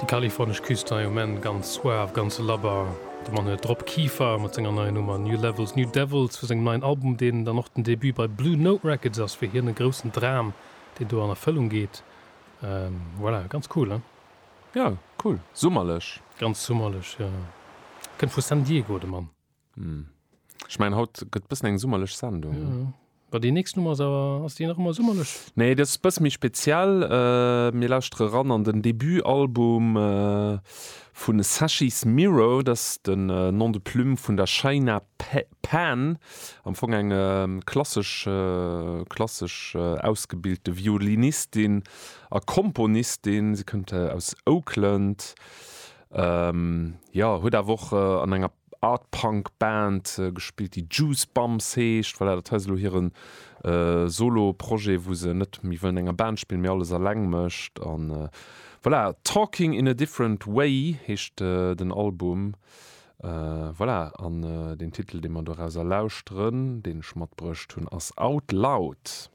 Déi kalifornesch Küst hei um Enn, ganz suave, ganz labber. De Mann huet Rob Kieffer mat senger neier Nummer New Levels, New Devils vu sengem neien Album, deen dann och den Debut bei Blue Note Records ass. Fir hien e groussen Dram, deen do an Erfëllung geet. Voilà, ganz cool, hein? Jo, cool. Summerlech. Ganz summerlech, jo. Kënnt vu San Diego, de Mann. Ech mengen haut gëtt bëssen eng summerlech Sendung. Jo, ma déi nächst Nummer ass awer, ass déi nach ëmmer summerlech? Nee, déi ass bësse méi speziell. Mir lauschtere ran an den Debutalbum vu Sashi's Mirror, dat ass den Nom de plume vun der Shaina Pan, am Fong eng klassesch klassesch ausgebilte Violinistin a Komponistin. Si kënnt aus Oakland, jo, huet awer och an enger Art-Punk-Band gespillt, déi Juice Bumps heescht. Voilà, dat hei ass elo hire Solo-Projet, wou se net méi wëll an enger Band spillen, mee alles eleng mécht. An voilà, Talking in a Different Way heescht den Album. Voilà, an deen Titel, dee mer dorauser lauschteren, deen ech matbruecht hunn, ass Out Loud.